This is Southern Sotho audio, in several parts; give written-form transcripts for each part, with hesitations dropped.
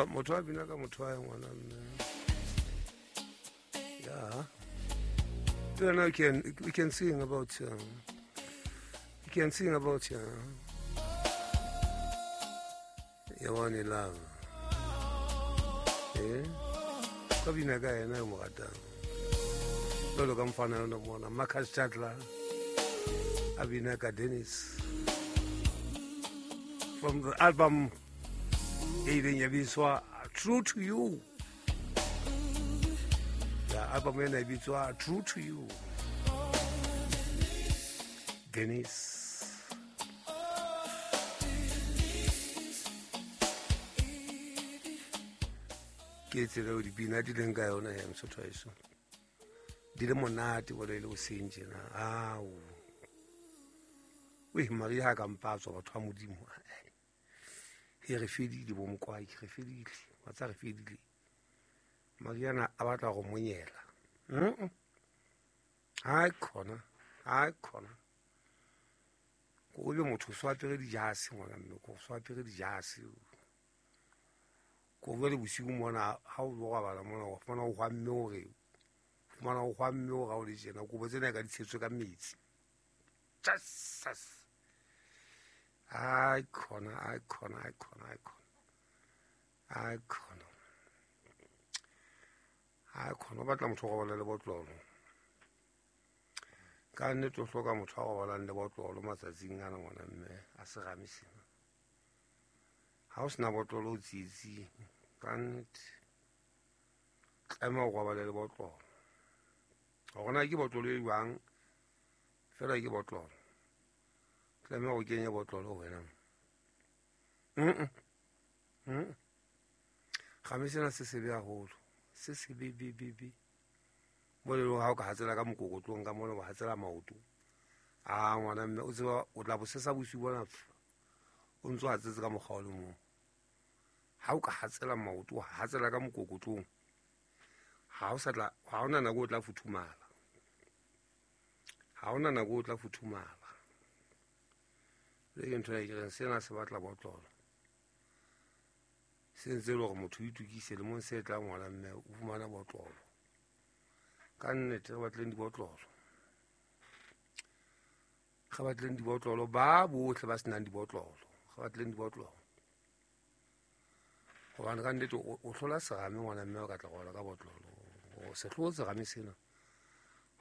Motho a bina ka motho wa ngwana mme. Yeah. You know, we can sing about we can sing about your one in love. Eh? Ka bina ka yena yo mo ratang. Jwalo ka mfana yona mona Marcus Chandler a bina ka Dennis from the album e ileng ya bitswa True to You. Ya album ena e bitswa True to You. Dennis. Ke tsela eo dipina di leng ka yona ya mosotho wa heso. Di le monate bole e le hoseng tjena. Ao. Oe Maria ha ka mpa tswa batho ba Modimo. He re fedile bo mokwai, re fedile. Wa tsa re fedile. Mariana a batla go monyela. Hai khona, hai khona. Ko be motho so apere dijase ngwana mme ko so apere dijase. Ko jwale bosiu mona ha o lo robala mona o fumana o hwamme hore fumana o hwamme hore ha o le tjena kobo tsena ka di tshetswe ka metsi. Jesus. Ai khona, ai khona, ai khona, ai khona. Ai khona. Ai khona o batla motho o robala le botlolo. Ka nnete o hloka motho a robalang le botlolo matsatsing ana ngwana mme a serame sena. Ha o sena botlolo o tsietsing. Ka nnete. Tlameha o robale le botlolo. Hore na ke botlolo e jwang, fela ke botlolo. Tlameha o kenye botlolo ho wena. Kgame sena se sebe haholo. Se sebe be be be. Mo le ha o ka hatsela ka mokokotlong ka mona wa hatsela maoto. A ngwana mme o tseba o tla bosesa bosiu bona o ntso hatsetse ka mokgwa o le mong. Ha o ka hatsela maoto, wa hatsela ka mokokotlong. Ha o sa tla, ha hona nako o tla futhumala. Ha hona nako o tla futhumala. Le ke ntho e ke reng sena se batla botlolo. Se ntse e le hore motho o itukise lemong se tlang ngwana mme o fumana botlolo. Ka nnete re batleng dibotlolo. Re batleng dibotlolo ba bohle ba senang dibotlolo. Re batleng dibotlolo. Hobane ka nnete o hlola serame ngwana mme o ka tla robala ka botlolo. O se hlotse serame sena.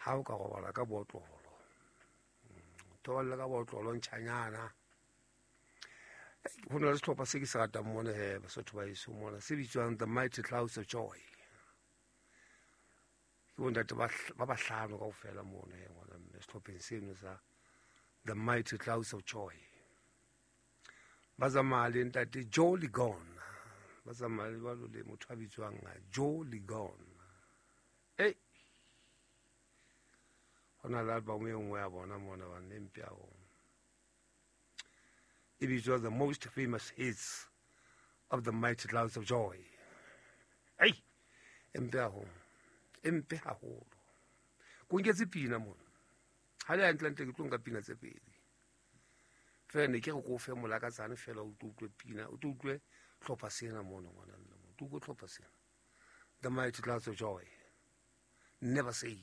Ha o ka robala ka botlolo. Thoballe ka botlolo ntjhanyana. Ho na le sehlopha se ke se ratang mona he Basotho ba heso mona se bitswang The Mighty Clouds of Joy. Ke bontate ba bahlano kaofela mona he ngwana mme sehlopheng seno sa The Mighty Clouds of Joy. Ba tsamaya le ntate Joe Ligon. Ba tsamaya le jwalo le motho a bitswang Joe Ligon. Ei. Ho na le album e nngwe ya bona mona ba ne mpe haholo. E bitswa The Most Famous Hits of the Mighty Clouds of Joy. Ei, e mpe haholo. E mpe haholo. Ko nketse pina mona. Ha le hantle-ntle ke tlo nka pina tse pedi. Fela ne ke re ko fe molakatsane fela o tlo utlwe pina, o tlo utlwe hlopha sena mona ngwana mme. O tlo utlwe hlopha sena. The Mighty Clouds of Joy. Never say.